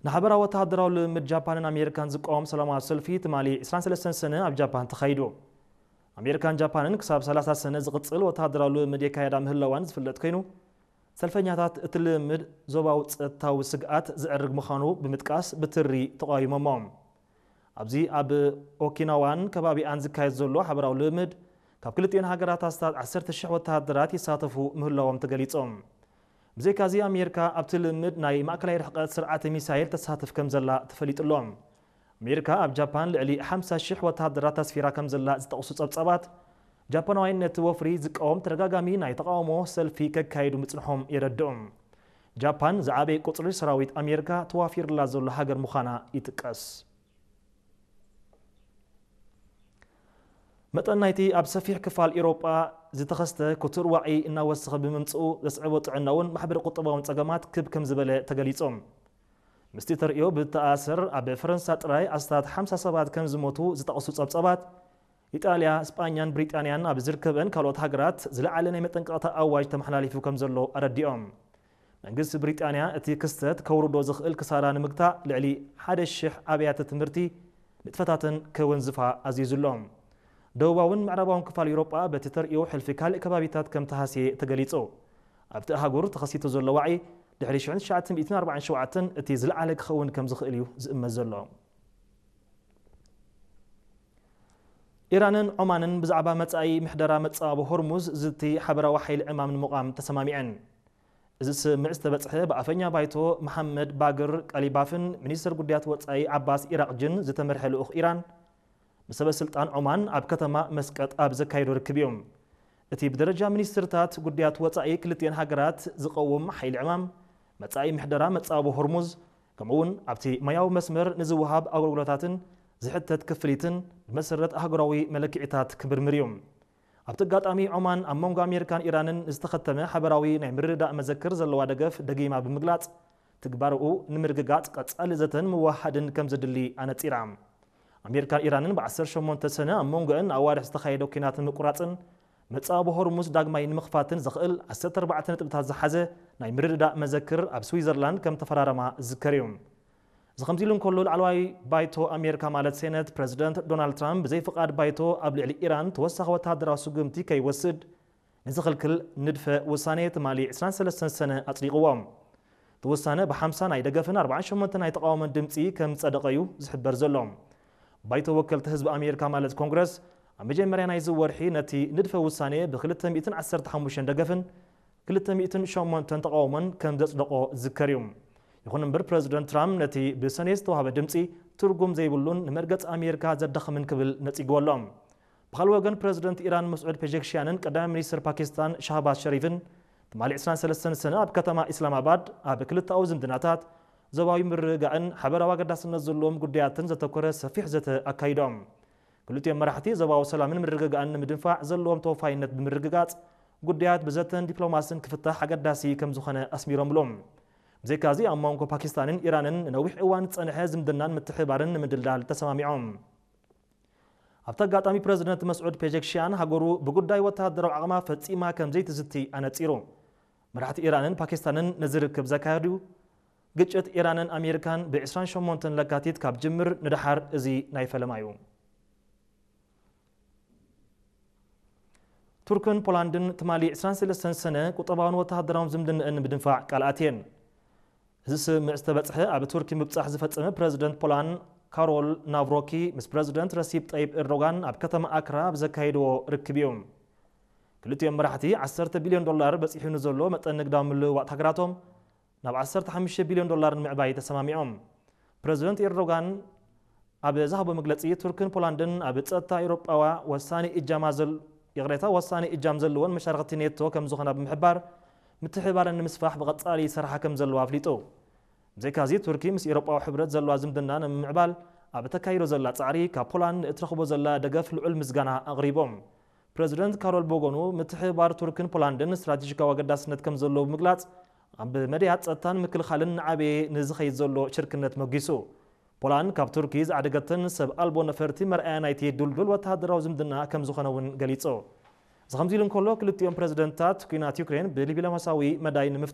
ንሓበራዊ ወተሃደራዊ ልምምድ ጃፓንን ኣሜሪካን ዝቃወም ሰላማዊ ሰልፊ ትማሊ ዕስራን ሰለስተን ሰነ ኣብ ጃፓን ተኻይዱ። ኣሜሪካን ጃፓንን ክሳብ ሰላሳ ሰነ ዝቕጽል ወተሃደራዊ ልምምድ የካየዳ ምህላዋን ዝፍለጥ ኮይኑ፣ ሰልፈኛታት እቲ ልምምድ ዞባዊ ጸጥታዊ ስግኣት ዘዕርግ ምዃኑ ብምጥቃስ ብትሪ ተቓዊሞሞ። ኣብዚ ኣብ ኦኪናዋን ከባቢኣን ዝካየድ ዘሎ ሓበራዊ ልምምድ ካብ ክልቲኤን ሃገራት ኣስታት ዓሰርተ ሽሕ ወተሃደራት ይሳተፉ ምህላዎም ተገሊጾም። ብዘይካዚ ኣሜሪካ ኣብቲ ልምምድ ናይ ማእከላይ ርሕቀት ስርዓተ ሚሳይል ተሳትፍ ከም ዘላ ተፈሊጡ ኣሎ። ኣሜሪካ ኣብ ጃፓን ልዕሊ ሓምሳ ሽሕ ወተሃደራት ኣስፊራ ከም ዘላ ዝጠቕሱ ጸብጻባት፣ ጃፓናውያን ነቲ ወፍሪ ዝቃወም ተደጋጋሚ ናይ ተቓውሞ ሰልፊ ከካይዱ ምጽንሖም የረድኡ። ጃፓን ዝዓበየ ቁጽሪ ሰራዊት ኣሜሪካ ተዋፊርላ ዘሎ ሃገር ምዃና ይጥቀስ። መጠን ናይቲ ኣብ ሰፊሕ ክፋል ኤውሮጳ ዝተኸስተ ክቱር ዋዒ እናወሰኸ ብምምጽኡ ዘስዕቦ ጥዕናውን ማሕበረ ቁጠባውን ጸገማት ክብ ከም ዝበለ ተገሊጾም። ምስቲ ተርእዮ ብተኣሰር ኣብ ፈረንሳ ጥራይ ኣስታት ሓምሳ ሰባት ከም ዝሞቱ ዝጠቕሱ ጸብጻባት፣ ኢጣልያ፣ ስጳኛን ብሪጣንያን ኣብ ዝርከበን ካልኦት ሃገራት ዝለዓለ ናይ መጠንቀቕታ ኣዋጅ ተመሓላሊፉ ከም ዘሎ ኣረዲኦም። መንግስቲ ብሪጣንያ እቲ ክስተት ከውርዶ ዝኽእል ክሳራ ንምግታእ ልዕሊ ሓደ ሽሕ ኣብያተ ትምህርቲ ንጥፈታተን ከወንዝፋ ኣዚዙ ኣሎ። ደቡባውን ምዕራባውን ክፋል ኤውሮጳ በቲ ተርእዮ ሕልፊ ካልእ ከባቢታት ከም ተሃስየ ተገሊጹ። ኣብቲ ኣህጉር ተኸሲቱ ዘሎ ዋዒ ድሕሪ ሽሕን ትሽዓተ ሚእትን ኣርባዓን ሸውዓተን እቲ ዝለዓለ ክኸውን ከም ዝኽእል እዩ ዝእመት ዘሎ። ኢራንን ዖማንን ብዛዕባ መጻኢ ምሕደራ መጻወ ሆርሙዝ ዝቲ ሓበራዊ ሓይሊ ዕማም ንምቋም ተሰማሚዐን። እዚ ስምምዕ ዝተበጽሐ ብኣፈኛ ባይቶ መሓመድ ባግር ቀሊባፍን ሚኒስትር ጉዳያት ወጻኢ ዓባስ ኢራቕጅን ዝተመርሐ ልኡኽ ኢራን ምስ ሰበ ስልጣን ዖማን ኣብ ከተማ መስቀጥ ኣብ ዘካየዶ ርክብ እዩ። እቲ ብደረጃ ሚኒስትርታት ጉዳያት ወጻኢ ክልቲኤን ሃገራት ዝቐውም ሓይሊ ዕማም፣ መጻኢ ምሕደራ መጻወ ሆርሙዝ፣ ከምኡ'ውን ኣብቲ ማያዊ መስመር ንዝወሃብ ኣገልግሎታትን ዝሕተት ክፍሊትን ብመሰረት ኣህጉራዊ መለክዒታት ክምርምር እዩ። ኣብቲ ኣጋጣሚ ዖማን ኣብ መንጎ ኣሜሪካን ኢራንን ዝተኸተመ ሓበራዊ ናይ ምርድዳእ መዘክር ዘለዋ ደገፍ ደጊማ ብምግላጽ፣ ትግባረኡ ንምርግጋጽ ቀጻሊ ዘተን ምውህሃድን ከም ዘድሊ ኣነጺራ። ኣሜሪካን ኢራንን ብ ዓሰርተ ሸሞንተ ሰነ ኣብ መንጎአን ኣዋርሕ ዝተኻየደ ኲናት ንምቁራጽን መጻወ ሆርሙዝ ዳግማይ ንምኽፋትን ዘኽእል ዓሰርተ ኣርባዕተ ነጥብታት ዝሓዘ ናይ ምርድዳእ መዘክር ኣብ ስዊዘርላንድ ከም ተፈራረማ ዝዝከር እዩ። እዚ ከምዚ ኢሉ እንከሎ፣ ላዕለዋይ ባይቶ ኣሜሪካ ማለት ሴነት፣ ፕረዚደንት ዶናልድ ትራምፕ ብዘይ ፍቓድ ባይቶ ኣብ ልዕሊ ኢራን ተወሳኺ ወተሃደራዊ ስጉምቲ ከይወስድ ንዝኽልክል ንድፈ ውሳኔ ትማሊ ዕስራን ሰለስተን ሰነ ኣጽዲቕዎ። እቲ ውሳነ ብ ሓምሳ ናይ ደገፍን ኣርባዓን ሸሞንተ ናይ ተቓውሞን ድምጺ ከም ዝጸደቐ እዩ ዝሕበር ዘሎ። ባይቶ ወከልቲ ህዝቢ ኣሜሪካ ማለት ኮንግረስ ኣብ መጀመርያ ናይዚ ወርሒ ነቲ ንድፈ ውሳኔ ብ ክልተ ሚእትን ዓሰርተ ሓሙሽተን ደገፍን ክልተ ሚእትን ሸሞንተን ተቓውሞን ከም ዘጽደቖ ዝዝከር እዩ። ይኹን እምበር ፕረዚደንት ትራምፕ ነቲ ብሰኔ ዝተዋህበ ድምጺ ትርጉም ዘይብሉን ንመርገጽ ኣሜሪካ ዘዳኽምን ክብል ነጺግዎ ኣሎ። ብኻልእ ወገን ፕረዚደንት ኢራን መስዑድ ፔጀክሽያንን ቀዳማይ ሚኒስትር ፓኪስታን ሻህባዝ ሸሪፍን ትማሊ ዕስራን ሰለስተን ሰነ ኣብ ከተማ ኢስላማባድ ኣብ ክልተኣዊ ዝምድናታት፣ ዞባዊ ምርግጋእን ሓበራዊ ኣገዳስነት ዘለዎም ጉዳያትን ዘተኮረ ሰፊሕ ዘተ ኣካይዶም። ክልቲኦም መራሕቲ ዞባዊ ሰላምን ምርግጋእን ንምድንፋዕ ዘለዎም ተወፋይነት ብምርግጋጽ፣ ጉዳያት ብዘተን ዲፕሎማስን ክፍታሕ ኣገዳሲ ከም ዝኾነ ኣስሚሮምሉ። ብዘይካዚ ኣብ መንጎ ፓኪስታንን ኢራንን ንነዊሕ እዋን ዝጸንሐ ዝምድናን ምትሕብባርን ንምድልዳል ተሰማሚዖም። ኣብቲ ኣጋጣሚ ፕረዚደንት መስዑድ ፔጀክሽያን ሃገሩ ብጉዳይ ወተሃደራዊ ዓቕማ ፈጺማ ከም ዘይትዝቲ ኣነጺሩ። መራሕቲ ኢራንን ፓኪስታንን ነዚ ርክብ ዘካየዱ ግጭት ኢራንን ኣሜሪካን ብ ዕስራን ሸሞንተን ለካቲት ካብ ጅምር ንደሓር እዚ ናይ ፈለማ እዩ። ቱርክን ፖላንድን ትማሊ ዕስራን ሰለስተን ሰነ ቁጠባውን ወተሃደራውን ዝምድንአን ንምድንፋዕ ቃል ኣትየን። እዚ ስምምዕ ዝተበጽሐ ኣብ ቱርኪ ምብጻሕ ዝፈጸመ ፕረዚደንት ፖላንድ ካሮል ናቭሮኪ ምስ ፕረዚደንት ረሲፕ ጠይብ ኤርዶጋን ኣብ ከተማ ኣክራ ኣብ ዘካየድዎ ርክብ እዩ። ክልቲኦም መራሕቲ ዓሰርተ ቢልዮን ዶላር በጺሑ ንዘሎ መጠን ንግዳዊ ምልውዋጥ ሃገራቶም ናብ ዓሰርተ ሓሙሽተ ቢልዮን ዶላር ንምዕባይ ተሰማሚዖም። ፕረዚደንት ኤርዶጋን ኣብ ዝሃቦ መግለጺ፣ ቱርክን ፖላንድን ኣብ ጸጥታ ኤውሮጳዋ ወሳኒ እጃማ ዘል-፣ ይቕሬታ፣ ወሳኒ እጃም ዘለወን መሻርኽቲ ኔቶ ከም ዝኾና ብምሕባር፣ ምትሕብባረን ንምስፋሕ ብቐጻሊ ይሰርሓ ከም ዘለዋ ኣፍሊጡ። ብዘይካዚ፣ ቱርኪ ምስ ኤውሮጳዊ ሕብረት ዘለዋ ዝምድና ንምምዕባል ኣብ እተካይዶ ዘላ ጻዕሪ፣ ካብ ፖላንድ ንእትረኽቦ ዘላ ደገፍ ልዑል ምስጋና ኣቕሪቦም። ፕረዚደንት ካሮል ብወገኑ፣ ምትሕብባር ቱርክን ፖላንድን ስትራቴጂካዊ ኣገዳስነት ከም ዘለዎ ብምግላጽ፣ ኣብ መዳያት ጸጥታን ምክልኻልን ንዓበየ ንዝኸይድ ዘሎ ሽርክነት መጒሱ። ፖላንድ ካብ ቱርኪ ዝዓደገተን ሰብ ኣልቦ ነፈርቲ መርኣያ ናይቲ ድልዱል ወተሃደራዊ ዝምድና ከም ዝኾነ እውን ገሊጹ። እዚ ከምዚ ኢሉ እንከሎ፣ ክልቲኦም ፕረዚደንታት ኲናት ዩክሬን ብዲፕሎማስያዊ መዳይ ንምፍታሕ